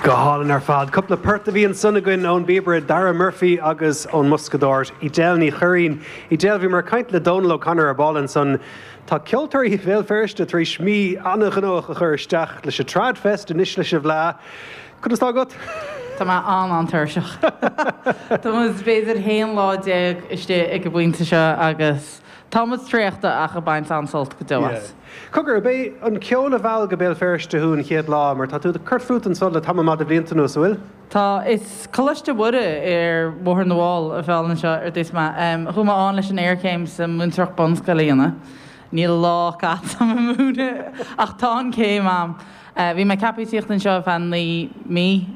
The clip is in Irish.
Go hálainn ar fad. Cúpla port a bhí ansan againn ón bpíobaire Dara Murphy agus ón mboscadóir Edel Ní Churraoin. Edel, bhíomar ag caint le Dónal O'Connor ar ball ansan. Tá ceoltóirí Bhéal Feirste tar éis mí an-ghnóthach a chur isteach leis an Tradfest, anois leis an bhFleadh. Conas tá agat? Tá mé an-an-tuirseach. Tá muid b'fhéidir 11 lá istigh ag an bpointe seo agus tá muid traochta ach ag baint an-sult go deo as. Cogar, ab é an ceol a mheall go Béal Feirste thú an chéad lá, mar tá tú ag cur fút anso le tamall maith de bhlianta anuas, an bhfuil? Tá. Is Coláiste Mhuire ar Bhóthar na bhFál a mheall anseo ar dtús mé. Chuaigh mé ann leis an iarchéim sa mhúinteoireacht bunscoile a dhéanamh. Níl lá caite agam ag múineadh ach tá an chéim a'm. Bhí mé ceaptha tíocht anseo ar feadh 9 mí.